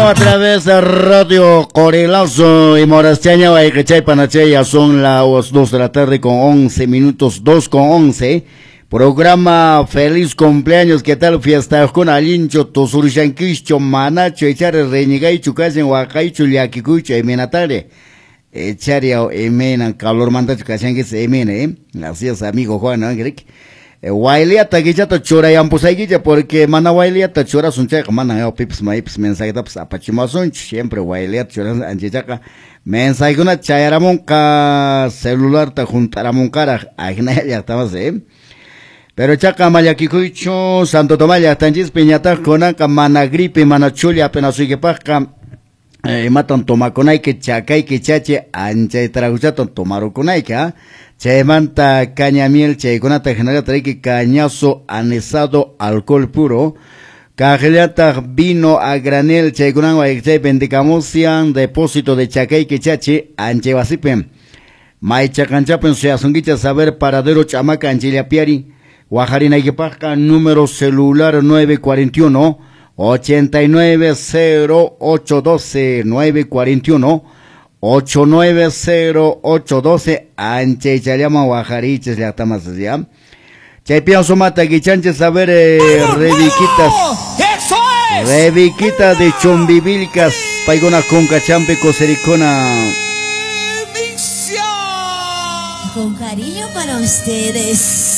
A través de Radio Corelazo y Morastiaña, Guayquechay, Panachay, ya son las 2 de la tarde con 11 minutos, 2:11. Programa Feliz Cumpleaños, ¿qué tal? Fiesta con Alincho, Tosurushanquicho, Manacho, Echare, Reñigaichu, Casen, Huacaichu, Llaquicucho, Emenatare. Echaria, Emena, calor mandacho, Casangues, Emena, ¿eh? Así es, amigo Juan, ¿no? Wailiata kichata churayampushaykicha porque mana wailiata churasun chayqa mana pipas maypas mensajetapas apachimasunchu siempre wailiata churasun anchachaqa mensajekuna chayaramunqa celularta junt'aramunqaraq ajinaya llaqtamas pero chaqa ama llakikuychu Santo Tomás llaqtanchispi ñataq kunanqa mana gripe mana chulla apenas imatan tomakunayki chakayki chachi anchay traguchatan tomarukunayki chaymanta caña miel chaykunata hinallataq riki cañazo anisado alcohol puro kaqllataq vino a granel chaykunawan chay vendicamusian depósito de chakayki chachi anchay wasipi maychaqanchapin suyasunkichas saber paradero ch'amaka anchayllapiari wajarinaykipaqqa número celular 941 890812 941 890812 anchaychallaman wajarichis llaqtamas ya chaypian sumata kichanchis a ver reviquitas. ¡Eso es! Reviquita de Chumbivilcas paykuna kunkachampi kusirikuna. Con cariño para ustedes.